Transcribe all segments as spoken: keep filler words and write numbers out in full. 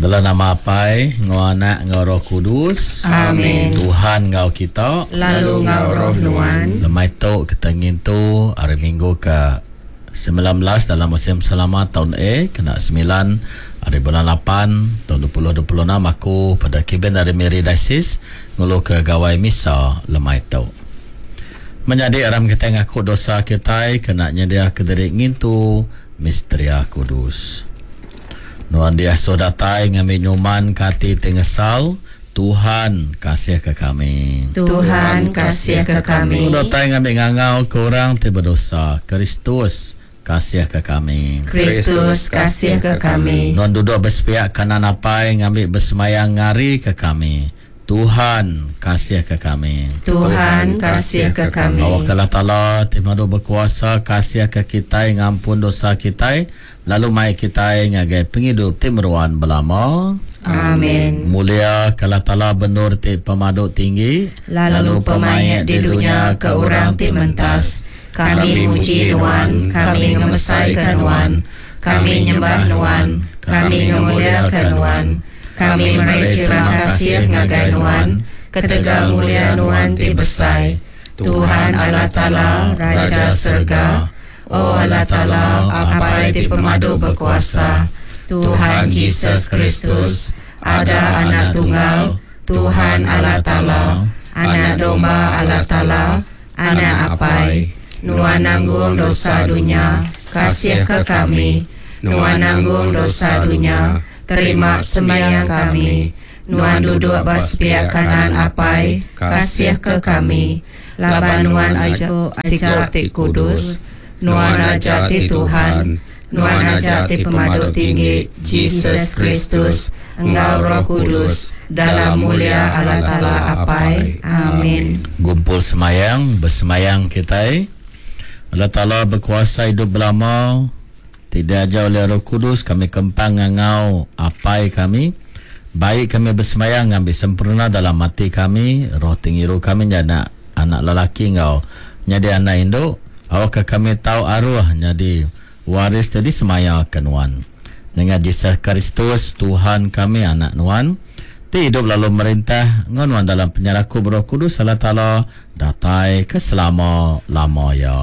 Dalam nama Apai, enggau Anak, enggau Roh Kudus. Amin. Tuhan enggau kita. Lalu enggau roh nuan. Lemai tu kita ngintu hari Minggu ke sembilan belas dalam musim selama tahun A, kena sembilan hari bulan lapan tahun dua ribu dua puluh enam. Aku pada Kevin dari Miri Diocese ngulu ke gawai misa lemai tu. Menyadi aram kita ngaku dosa kita kena nyedia ke diri ngintu misteria kudus. Nuan diasuh datai ngambil nyuman ke hati tengesal. Tuhan kasih ke kami. Tuhan kasih ke kami. Nuan datai ngambil ngangau ke orang ti berdosa. Kristus kasih ke kami. Kristus kasih ke kami. Nuan duduk bersepiak kanan apai ngambil bersemayang ngari ke kami. Tuhan kasih ke kami. Tuhan kasih ke kami. Awak Allah Ta'ala ti madu berkuasa kasih ke kita ngampun dosa kita lalu mai kita ngagai penghidup ti meruan belama. Amin. Mulia ke Allah Ta'ala benur ti pemadu tinggi lalu pemaik di dunia ke orang ti mentas. Kami muji nuan, kami ngemesaikan nuan, kami nyembah nuan, kami ngemuliakan nuan. Kami meri terima kasih ngagai nuan, ketegal mulia nuan ti besai. Tuhan Allah Ta'ala, Raja Surga, O Allah Ta'ala, Apai ti pemadu berkuasa, Tuhan Jesus Kristus, ada anak tunggal, Tuhan Allah Ta'ala, anak domba Allah Ta'ala, anak Apai, nuan nanggung dosa dunia, kasih ke kami, nuan nanggung dosa dunia, terima sembahyang kami. Nuan duduk bas pihak kanan Apai, kasih ke kami. Laban nuan aja sikap ti kudus, nuan aja ti Tuhan, nuan aja ti pemadu tinggi, Jesus Kristus, enggau Roh Kudus, dalam mulia Allah Ta'ala Apai. Amin. Gumpul semayang, bersemayang kita. Allah Ta'ala berkuasa hidup belama, tidak ajar oleh Roh Kudus, kami kempang ngangau Apai kami. Baik kami bersemayang ngambil sempurna dalam mati kami, roh tingiru kami jadi anak, anak lelaki ngau jadi anak induk. Awak kami tahu arwah jadi waris tadi semaya ke nuan. Dengan Jesus Kristus Tuhan kami anak nuan, ti hidup lalu merintah nuan dalam penyeraku Roh Kudus Allah Ta'ala datai ke selama-lama ya.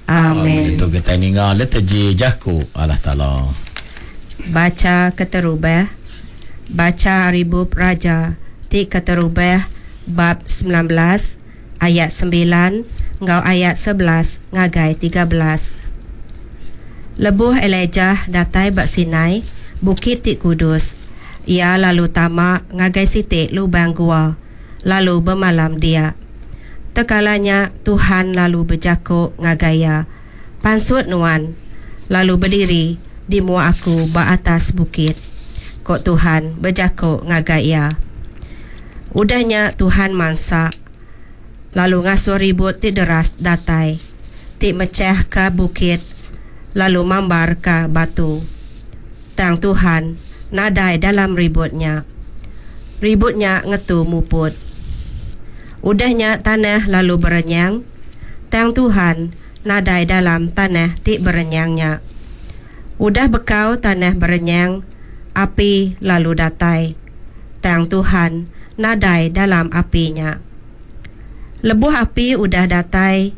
Amin. Itu kita ninga liturgi jaku Allah Ta'ala. Baca keterubah. Baca Ribub Raja ti keterubah bab sembilan belas ayat sembilan ngau ayat sebelas ngagai tiga belas. Lebuh Elijah datai bak Sinai, bukit ti kudus. Ia lalu tamak ngagai sitik lubang gua, lalu bermalam dia. Tekalanya Tuhan lalu berjakuk ngagai ia, pansut nuan, lalu berdiri di mua aku ba atas bukit. Kok Tuhan berjakuk ngagai ia. Udahnya Tuhan mansak, lalu ngasuh ribut ti deras datai, ti mecah ke bukit, lalu mambar ke batu. Tang Tuhan nadai dalam ributnya. Ributnya ngetu muput. Udahnya tanah lalu berenyang. Tang Tuhan nadai dalam tanah ti berenyangnya. Udah bekau tanah berenyang, api lalu datai. Tang Tuhan nadai dalam apinya. Lebuh api udah datai,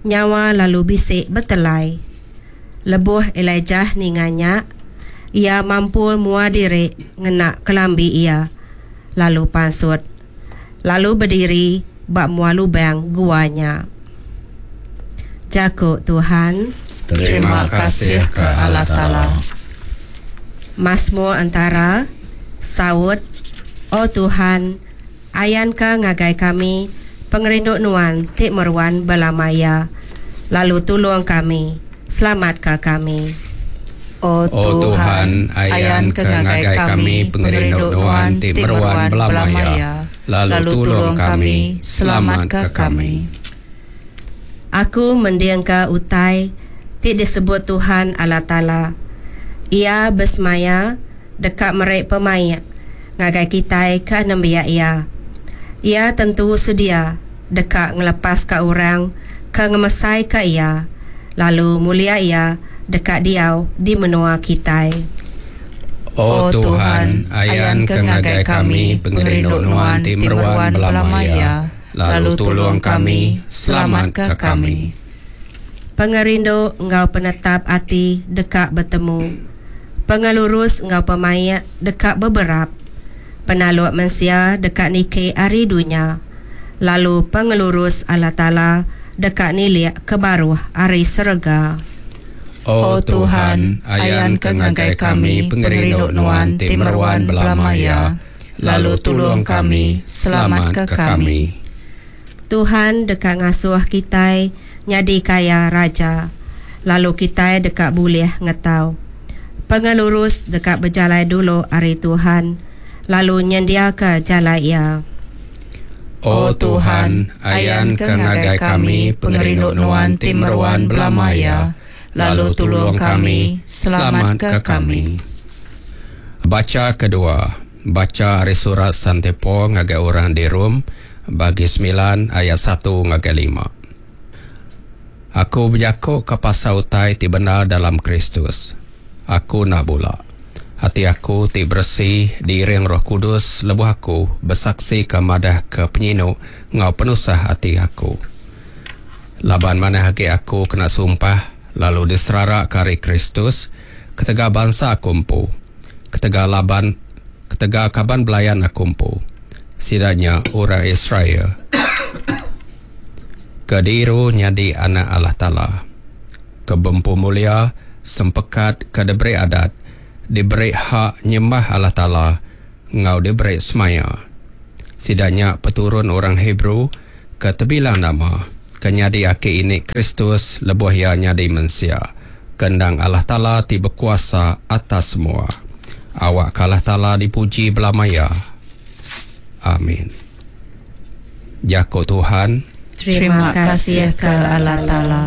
nyawa lalu bisik betelai. Lebuh Elijah ninganya, ia mampu mua diri ngena kelambi ia, lalu pansut, lalu berdiri bak mua lubang guanya. Jakuk Tuhan. Terima kasih ke Allah Ta'ala. Mazmur antara Saud. O Tuhan, ayanka ngagai kami pengerindu nuan ti meruan belamaya, lalu tolong kami, selamatka kami. O Tuhan, ayan ke ngagai kami pengerindu nuan ti meruan belamaya, lalu tolong kami, selamatka kami. Aku mendiangka utai ti disebut Tuhan Allah Ta'ala. Ia bersemaya dekat merek pemaik ngagai kita ke nembiak ia. Ia tentu sedia dekat ngelepas ke orang ke ngemesai ke ia, lalu mulia ia dekat diau di menua kita. O Tuhan, ayan ke ngagai kami pengerindu Nuan ti meruan belama iya, lalu tulung kami, selamatka kami. Pengerindu enggau penetap ati deka betemu. Pengelurus enggau pemaik deka beberap. Penaluk mensia deka niki ari dunya, lalu pengelurus Allah Taala deka nilik ke baruh ari serega. O Tuhan, ayanka ngagai kami pengerindu Nuan ti meruan belama iya, lalu tulung kami, selamatka kami. Tuhan deka ngasuh kitai nyadi kaya raja, lalu kitai deka bulih ngetau. Pengelurus deka bejalai dulu ari Tuhan, lalu nyendiaka jalai Iya. O Tuhan, ayanka ngagai kami pengerindu Nuan ti meruan belama iya, lalu tulung kami, selamatka kami. Bacha kedua, bacha ari surat Sante Paul ngagai orang di Rom, bagi semilan ayat satu ngagai lima. Aku bejaku ke pasal utai ti benar dalam Kristus. Aku nak bula. Hati aku ti bersih diiring Roh Kudus lebuh aku besaksi ke madah ke penyinu ngau penusah hati aku. Laban mana hagi aku kena sumpah lalu diserara kari Kristus ketegal bangsa aku empu, ketegal laban ketegal kaban belayan aku empu. Sidanya orang Israel. Kediru nyadi anak Allah Taala. Kebempu mulia sempekat ke diberi adat, diberi hak nyembah Allah Taala ngau diberi semaya. Sidanya peturun orang Hebrew ke terbilang nama, ke nyadi aki ini Kristus lebuh ia nyadi mensia. Kendang Allah Taala ti berkuasa atas semua. Awak Allah Taala dipuji belamaya. Amin. Jako Tuhan. Terima kasih ke Allah Taala.